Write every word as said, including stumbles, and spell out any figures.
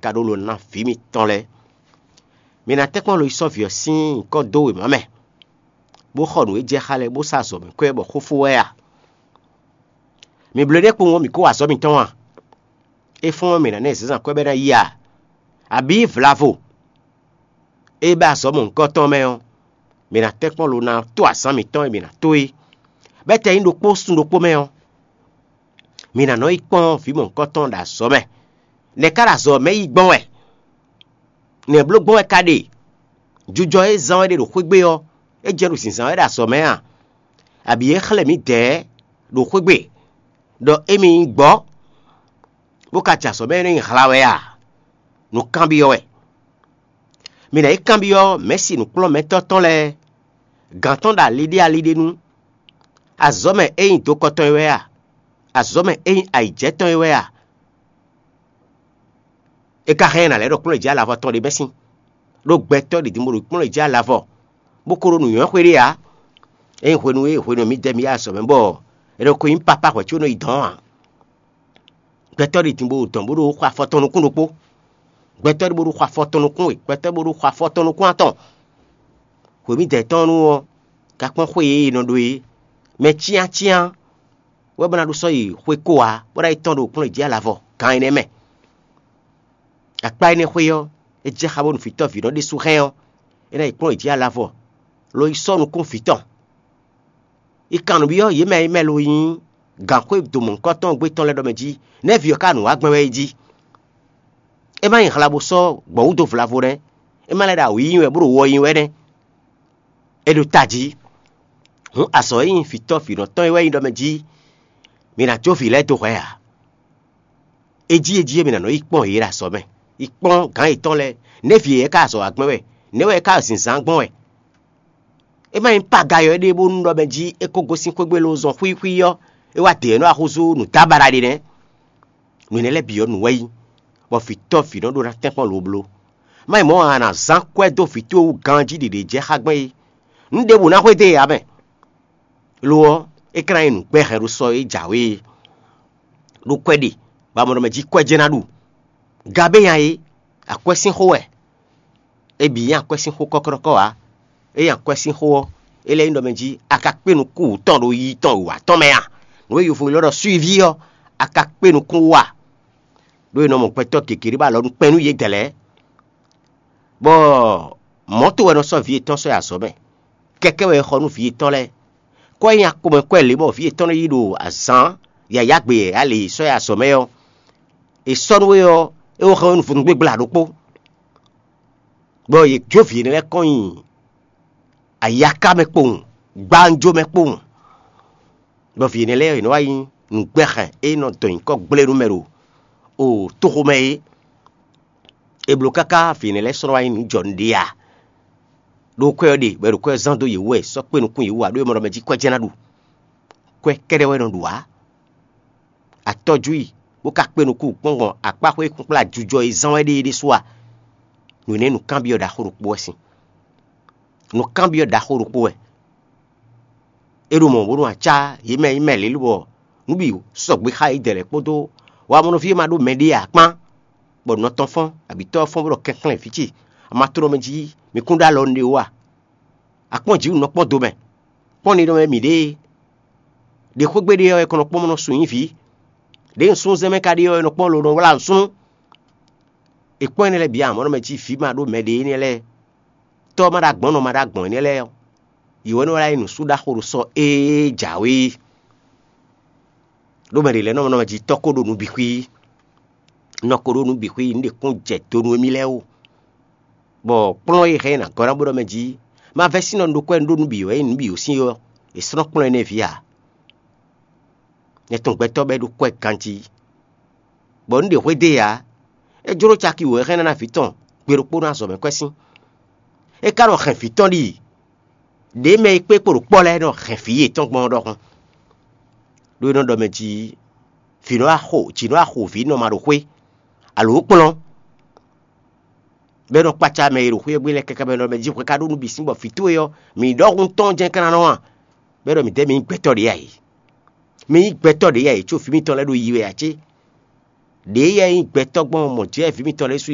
ka ɖó lo ná vǐ mitɔn lɛ́ɛ. Mi ná tɛ́nkpɔ́n lo yi sɔ́ vǐ ɔ́ sín nyǐkɔ dó wěma mɛ, bó xɔ nǔ e jɛ xá lɛ́ɛ, bó sá azɔ̌ mɛ kwɛ́ bɔ xó fó wɛ a? Mi bló énɛ́ kpowun ɔ́, mǐ kó wa azɔ̌ mitɔn a? É fɔ́n ɔ́, mǐ ná ná ɛ zǎnzǎn kwɛ́ bɔ é ná yi a? Abǐ vlavo e bɛ́ azɔ̌ mɔ̌hunkɔtɔn mɛ ɔ́, mǐ ná tɛ́nkpɔ́n lo ná tó azǎn mǐtɔn e mǐ ná tó é. Bɛ́ tɛ nyí ɖokpó sun ɖokpó mɛ ɔ́, mǐ ná nɔ yi kpɔ́n vǐ mɔ̌hunkɔtɔn ɖo azɔ̌ mɛ. Nɛ̌ ká ɖo azɔ̌ mɛ yí gbɔn wɛ? Nɛ̌ bló gbɔn wɛ ka ɖe? Jujɔ e zán wɛ ɖe ɖo xwé gbe ɔ́, é jɛ ɖo zǐnzán wɛ ɖo azɔ̌ mɛ a? Abǐ é xlɛ́ mǐdɛɛ ɖo xwé gbe ɖɔ émí nyí gbɔ́, bó ka jɛ azɔ̌ mɛ énɛ́ nyi hla wɛ a? Nǔkanbyɔ́ wɛ. Mi ná yi kanbyɔ́ mɛ̌si nǔkplɔ́nmɛtɔ́ tɔn lɛ́ɛ, gǎn tɔn ɖo ali ɖé ali ɖé nu. Azɔ̌ mɛ é nyí dokɔ tɔn é wɛ a? Azɔ̌ mɛ é nyí ayǐjɛ tɔn é wɛ a? É ka hɛn ná lɛ́ ɖɔ kplɔ́n e jí alavɔ tɔn ɖé mɛ sín, ɖó gbɛtɔ́ ɖě din bó ɖo kplɔ́n e jí alavɔ, bó ko ɖo nǔnywɛ́ xwé ɖé ǎ. Ényí hwenu e hwenu e mǐ dɛ mǐ yi azɔ̌ mɛ bɔ è nɔ ko nyí pápá hwɛ̌ có nɔ yi dɔ̌n ǎ. Gbɛtɔ́ ɖě din bó ɖo dɔ̌n bó ɖo xɔ afɔ tɔn nukún ɖokpó. Gbɛtɔ́ ɖé bó ɖo xɔ afɔ tɔn nukún we, gbɛtɔ́ bó ɖo xɔ afɔ tɔn nukún atɔn. Hwě mǐdɛɛ tɔn nu ɔ́, ka kpɔ́n xwé e è nɔ ɖó é, mɛ cyáncyán wɛ bó ná ɖó sɔ́ yi xwé ko ǎ, bó ná yi tɔ́n ɖo kplɔ́n jí alavɔ gan énɛ́ mɛ. Akpá énɛ́ xwé ɔ́, é jɛ xá bónú vǐtɔ́ vǐ nɔ ɖésú hɛn ɔ́, é ná yi kplɔ́n jí alavɔ, lo yi sɔ́ nukún vǐ tɔn. Yi kan nǔ byɔ́ yě mɛ e mɛ lo nyí gǎnxwé domɔ̌hunkɔtɔn gbé tɔn lɛ́ɛ ɖɔ mɛ jí, nɛ̌ vǐ ɔ́ ka nǔ wa gbɛn wɛ é jí? É má nyí hla bó sɔ́ gbɔ̌ wú dó vlavo nɛ́; é má lɛ́ ɖo awǐ nyi wɛ bó ɖo wɔ nyi wɛ nɛ́. É ɖo tají. Hǔn azɔ̌ e nyí vǐtɔ́ vǐnɔ tɔn é wɛ nyí ɖɔ mɛ jí, mǐ ná jó vǐ lɛ́ɛ dó hwɛ̌ ǎ. É jí é jí é mǐ ná nɔ yi kpɔ́n yě ɖo azɔ̌ mɛ, yi kpɔ́n gǎn yětɔn lɛ́ɛ, nɛ̌ vǐ yě ka azɔ̌ wa gbɛn wɛ, nɛ̌ wɛ é ka zǐnzán gbɔn wɛ? É má nyí paga yɔ éɖée bónú ɖɔ mɛ jí é ko gosín xwé gbe lo zɔn xwíxwí ɔ́, é wá dě ɔ́ nɔ wá húzú nǔdábaɖa ɖé nɛ́. Nǔ énɛ́ lɛ́ɛ bǐ ɔ́, nǔ wɛ yí, bɔ vǐtɔ́ vǐ nɔ ɖó ná tɛ́nkpɔ́n lobló. Má nyí mɔ̌ ǎ, a nǎ zán kwɛ́ dó vǐ towe wú ganjí ɖě ɖě jɛ xá gbɛn é. Nǔ ɖěbǔ ná xwedó e ǎ mɛ. Lo ɔ́, é ka ná nyí nǔgbɛ́hɛn ɖo sɔ e jǎwe é, ɖó kwɛ́ ɖe, bɔ a mɔ ɖɔ mɛ jí kwɛ́ jɛ́n ná ɖu. Gabénya é, akwɛ́ sín xó wɛ. É bǐ nyí akwɛ́ sín xó kɔ́kɔ́kɔ́ ǎ. É nyí akwɛ́ sín xó ɔ́, é lɛ́ nyí ɖɔ mɛ jí a ka kpé nukún wǔ tɔn ɖo yiyi tɔn wǐwá tɔn mɛ a? Nǔ e yovo ylɔ́ ɖɔ suiví ɔ́, a ka kpé nukún wú a? Ɖó è nɔ mɔ gbɛtɔ́ gěgé ɖé bɔ alɔ nú kpɛn nú yědɛɛ lɛ́ɛ, bɔ mɔ̌ to wɛ nɔ sɔ́ vǐ yětɔn sɔ́ yi azɔ̌ mɛ. Kɛkɛ́ wɛ è xɔ nú vǐ yětɔn lɛ́ɛ. Kɔ́ e nyi akpomɛ kwɛ́ lě bɔ vǐ yětɔn nɔ yi ɖo azǎn yǎyá gbe e a lě sɔ́ yi azɔ̌ mɛ ɔ́, è sɔ́ nú we ɔ́, é wó hɛn we nú vodúngbégbla ɖokpó, bɔ yě jó vǐ énɛ́ lɛ́ɛ kɔn nyi ayaká mɛ kpowun, gbawunjó mɛ kpowun, bɔ vǐ énɛ́ lɛ́ɛ yě nɔ wá nyí nǔgbɛ́hɛn e nɔ dɔn nyǐkɔ gblé nú mɛ ɖo o toxo mɛ é. È blǒ káká vǐ énɛ́ lɛ́ɛ sɔ́ nɔ wá nyí nǔ jɔ nǔɖé a? Ɖó kwɛ́ ɔ́ ɖe, bɔ è ɖo kwɛ́ ɔ́ zán dó yě wú wɛ, sɔ́ kpé nukún yě wú ǎ, ɖó è mɔ ɖɔ mɛ jí kwɛ́ jɛ́n ná ɖu. Kwɛ́ kɛ́ɖɛ́ wɛ nɔ ɖu ǎ. A tɔ́jú i, bó ka kplé nukún kpɔ́ngbɔn akpáxwé kplá jujɔ e zán wɛ ɖe é ɖésú a? Nǔ énɛ́ nǔkanbyɔ́ ɖaxó ɖokpó wɛ sín. Nǔkanbyɔ́ ɖaxó ɖokpó wɛ. É ɖo mɔ̌ bónú acá yě mɛ nyí mɛ lě lobɔ nǔ bǐ sɔgbe xá yědɛɛ lɛ́ɛ kpódó wamɔnɔví e ma ɖó mɛɖée ǎ kpán, bɔ nɔ tɔn fɔ́n, abǐ tɔ́ ɔ́ fɔ́n bó ɖɔ kɛnklɛ́n vǐ ce, amatlɔ́mɛ jí mi kún ɖó alɔ nú ɖé ó a? A kpɔ́n jǐ nǔ nɔ kpɔ́n do mɛ, kpɔ́n ninɔmɛ mǐɖée. Ɖě xwé gbe ɖe ɔ́, è kɔn nɔ kpɔ́n nɔ sun nyí vǐ. Ɖěe nǔsúnnúzɛ́n mɛ ka ɖe ɔ́, è nɔ kpɔ́n lo nɔ wlá nǔsúnnú. È kpɔ́n énɛ́ lɛ́ɛ bǐ amɔ̌ nɔ mɛ jí vǐ ma ɖó mɛ ɖě énɛ́ lɛ́ɛ, tɔ́ ma ɖó agbɔ̌n nɔ ma ɖó agbɔ̌n énɛ́ lɛ́ɛ ɔ́, yě wɛ nɔ wlá nyí nǔsúɖaxó ɖo sɔ éé jǎwe é. Ɖó mɛ ɖě lɛ́ɛ nɔ nɔ mɛ jí tɔ́ ko ɖo nǔ bǐ xwí, nɔ ko ɖo nǔ bǐ xwí, nǔ ɖě kún jɛ do nú émí lɛ́ɛ ó. Bɔ kplɔ́n e hɛn ná gɔ́ ná bó ɖɔ mɛ jí, ma vɛ́ sín nɔ un ɖó kwɛ́ un ɖó nǔ bǐ wɛ é nyí nǔ bǐ ó sín é ɔ́, è slɔ́n kplɔ́n énɛ́ ví ǎ. Nyɛ tɔn gbɛtɔ́ bɔ é ɖó kwɛ́ ganjí, bɔ un ɖe hwédée ǎ. É jló caki wǒ é hɛn ná ná vǐ tɔn gbe ɖokpó nú azɔ̌ mɛ kwɛ́ sín. É ka nɔ hɛn vǐ tɔn ɖi ɖě mɛ e kpé kpo ɖo kpɔ́ lɛ́ɛ nɔ hɛn vǐ yětɔn gbɔn ɔ́ ɖɔhun. Ɖó é nɔ ɖɔ mɛ jí vǐ nɔ wá xo jǐ nɔ wá xo vǐ nɔ ma ɖo xwé, alo kplɔ́n, bɔ é nɔ kpácá mɛ e ɖo xwé ɔ́ gbe lɛ́ɛ káká bɔ é nɔ ɖɔ mɛ jí hwɛ ka ɖó nú bǐ sín bɔ vǐ towe ɔ́, mǐ ɖɔhun tɔn jɛ́n ka ná nɔ a? Bɔ é ɖɔ mǐdɛɛ mǐ nyí gbɛtɔ́ ɖě ǎ é. Mǐ nyí gbɛtɔ́ ɖě ǎ é, có vǐ mitɔn lɛ́ɛ ɖo yi wɛ ǎ cé? Ɖěe yɛ nyí gbɛtɔ́ gbɔn mɔ̌ jɛ vǐ mitɔn lɛ́ɛ su